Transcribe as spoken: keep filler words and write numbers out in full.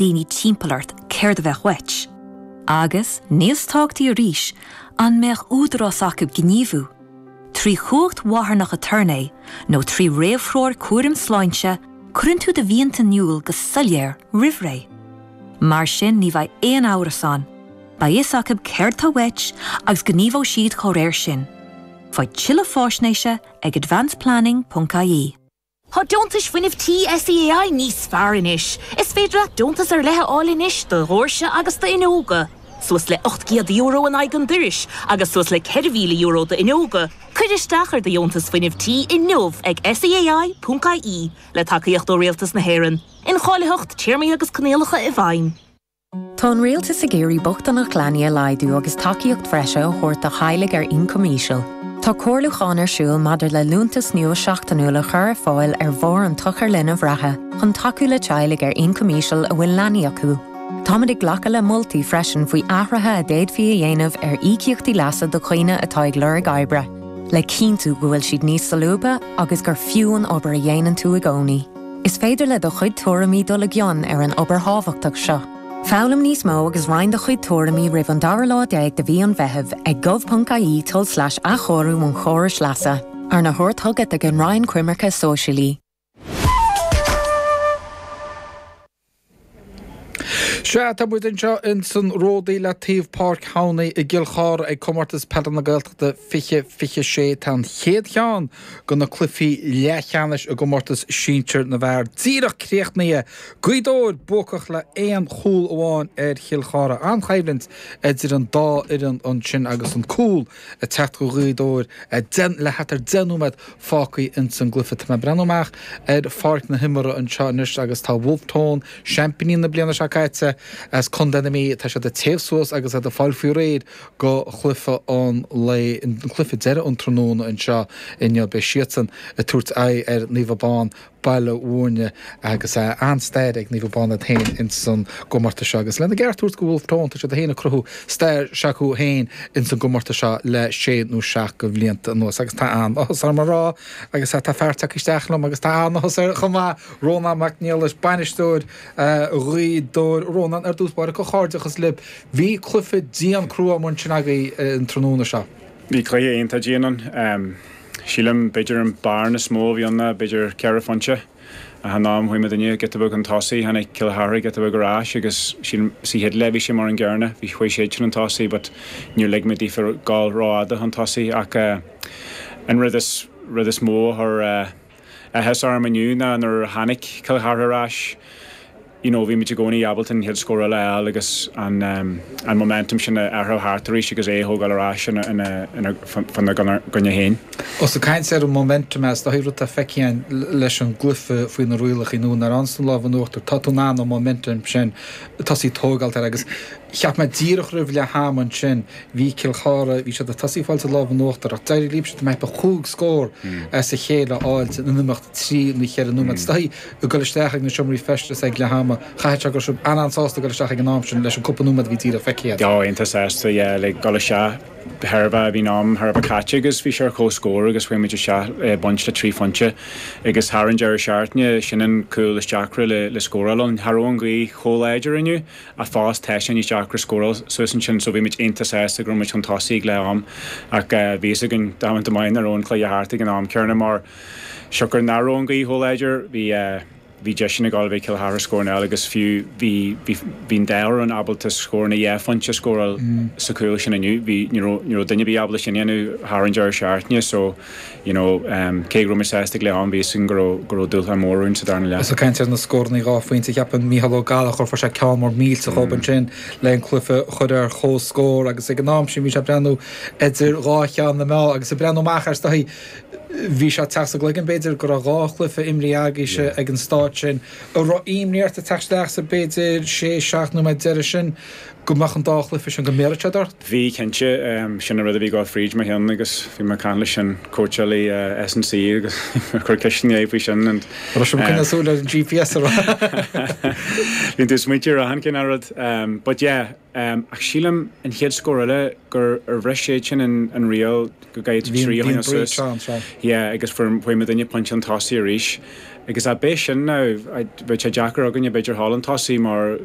daoine timpeall ort céard a bheadh uait. Agus níos tábhachtaí arís an mbeadh údarás acu gníomhú. Trí chumhacht mharthanach aturnae nó trí réamhthreoir cúraim sláinte, cuireann tú do mhianta in iúl go soiléir roimh ré. Mar sin ní bheidh aon amhras ann, beidh fhios acu céard atá uait agus gníomhóidh siad dá réir sin. Faigh tuilleadh faisnéise ag advanceplanning.ie. Tá deontais fuinnimh tí SEAI níos fearr anois. Is féidir leat deontas ar leith a fháil anois do dhoirse agus d'fhuinneoga. Suas le ocht gcéad euro in aghaidh an dorais agus suas le ceithre mhíle euro d'fhuinneoga. Cuir isteach ar do dheontas fuinnimh tí inniu ag SEAI.ie le tacaíocht ó Rialtas na hÉireann. Incháilitheacht téarmaí agus coinníollacha i bhfeidhm. Tá an rialtas ag iarraidh bochtaineacht leanaí a laghdú agus tacaíocht bhreise a thabhairt do theaghlaigh ar ioncam íseal. Tá comhairliúchán ar siúl maidir le liúntas nua seachtainiúil a chur ar fáil ar bharr an tsochair linbh reatha chun tacú le teaghlaigh ar ioncam íseal a bhfuil leanaí acu. Táimid ag glacadh le moltaí freisin faoi athruithe a d'fhéadfaí a dhéanamh ar íocaíochtaí leasa do dhaoine atá ag lorg oibre, le cinntiú go bhfuil siad níos solúbtha agus gur fiú an obair a dhéanann tú i gcónaí. Is féidir le do chuid tuairimí dul i gcion ar an obair thábhachtach seo. Foghlaim níos mó agus roinn do chuid tuairimí roimh an dara lá déag de mhí an Mheithimh ag gov.ie tulslais athchóiriú an chórais leasa, arna thabhairt chugat ag an Roinn Coimirce Sóisialaí. Sea, tá muid anseo in san Ródaí le taobh Páirc Thamhnaí i gCill Chartha ag Comórtas Peile na Gaeltachta fiche fiche sé. Tá an chéad cheann de na cluichí leathcheannais i gcomórtas sinsir na bhfear díreach críochnaithe. Gaoth Dobhair buacach le aon chúl amháin ar Chill Chartha. An-choimhlint idir an dá fhoireann ansin agus an cúl ag teacht do Ghaoth Dobhair le thart ar deich nóiméad fágtha ins an gcluiche. Tá mé ag breathnú amach ar pháirc na himeartha anseo anois agus tá Wolfe Tone, seaimpíní na bliana seo caite as Contae na Mí, tá siad ag téamh suas agus iad ag fáil faoi réir go chluiche an lae, an cluiche deiridh an tráthnóna anseo inniu. Beidh siadsan ag tabhairt aghaidh ar Naomh Abán, Baile Mhúirne agus an-stair ag Naomh Abán iad féin ins an gcomórtas seo agus lena gceart a thabhairt go Wolfe Tone, tá siad féin ag cruthú stair s'acu féin ins an gcomórtas seo le sé nó seacht de bhlianta anuas agus tá an-áthas orm a rá agus tá fear tagtha isteach liom agus tá an-áthas air chomh maith, Rónán Mac Niallais, bainisteoir Ghaoth Dobhair. Rónán, ar dtús báire, comhghairdeachas libh. Bhí cluiche dian crua amuigh ansin agaibh an tráthnóna seo. Bhí cluiche iontach dian ann. Sílim, b'fhéidir an bearna is mó a bhí ann ná b'fhéidir ceithre phointe. Ach an am chuaigh muidinne giota beag chun tosaigh, tháinig Cill Chartha giota beag ar ais agus sílim sa chéad leath bhí sé mar an gcéanna, bhí chuaigh siad chun an tosaigh but níor lig muid daofa dul rófhada chun tosaigh ach an rud is rud is mó a chuir áthas orm inniu ná nuair a tháinig Cill Chartha ar ais, you know, bhí muid i gcónaí ábalta an chéad scór eile a fháil agus an an momentum sin a athrú thart arís agus é a thógáil ar ais ina ina ina faoina gcoinne féin. Ós ag caint ar an momentum is dóigh rud atá feicthe againn leis an gcluiche faoi na rialacha nua nuair a fhaigheanns tú an lámh in uachtar tá tú in ann an momentum sin tosaí tógáilt air agus cheap mé díreach roimh leath ama ansin bhí Cill Chartha bhí siad ag tosaí fáilt an lámh in uachtar ach d'éirigh libhse tá mé ag ceapadh cúig scór as a chéile a fháilt in imeacht trí nó cheithre nóiméad. Is dóigh ag dul isteach ag na seomraí feistis ag leath ama, chaithfeadh sé go raibh sibh an-an-sásta dul isteach ag an am sin leis an cúpla nóiméad a bhí díreach feicthe agat. Oh, iontach sásta, yeah, like dul isteach thairbhe, bhí an am thar a bheith caite agus bhí sé ar comhscór agus chuaigh muid isteach baint le trí phointe agus thar an deireadh seachtaine, sin an cúl is deacra le le scóráil ann. Cha raibh an ghaoth chomh láidir inniu ach fós tá sé níos deacra scóráil suas ansin so bhí muid iontach sásta go raibh muid chun tosaigh ag leath am ach bhí fhios againn damanta maith nach raibh an cluiche thart ag an am céanna mar siocair nach raibh an ghaoth chomh láidir bhí bhí deiseanna ag dul a bheith Cill Chartha scóranna eile agus fiú bhí bhí bhí an dá fhoireann ábalta scóranna dhá phointe a scóráil sa chúl sin inniu. Bhí ní raibh ní raibh duine ar bith ábalta sin a dhéanamh thar an deireadh seachtaine so you know cé go raibh muid sásta ag leath am bhí fhios againn go raibh go raibh dúshlán mór romhainn sa darna leath. Ós ag caint ar na scóranna dhá phointe cheapfainn Mícheál Ó Gallchóir fuair sé ceann mór millteach dhób ansin le an cluiche a chur ar chomhscór agus ag an am sin bhí sé ag breathnú idir dhá cheann na meá agus ag breathnú amach air is dóigh Bhí sé ag teacht sa gcloigeann, b'fhéidir, go raibh dhá chluiche imrithe agaibhse ag an staid sin. An raibh imní ort ag teacht isteach sa, b'fhéidir, sé, seacht nóiméad deiridh sin, go mbeadh an dá chluiche sin go mbéarfadh siad ort? Bhí cinnte sin an rud a bhí ag dul fríd mo cheann agus bhí mé ag caint leis an cóitseálaí S and C agus chuir ceisteanna faoi sin and Raibh sé coinneáil súil ar an G P S a rá. Bhíonn tú smaointiú ar achan cineál rud but yeah um, ach sílim an chéad scór eile gur ar bhris siad sin an, an riail go gcaithfidh trí a choinneáil suas. Yeah, agus fuair muid duine pointe an tosaigh arís. Agus a bé sin ná bheadh sé deacair againne b'fhéidir thall an tosaí mar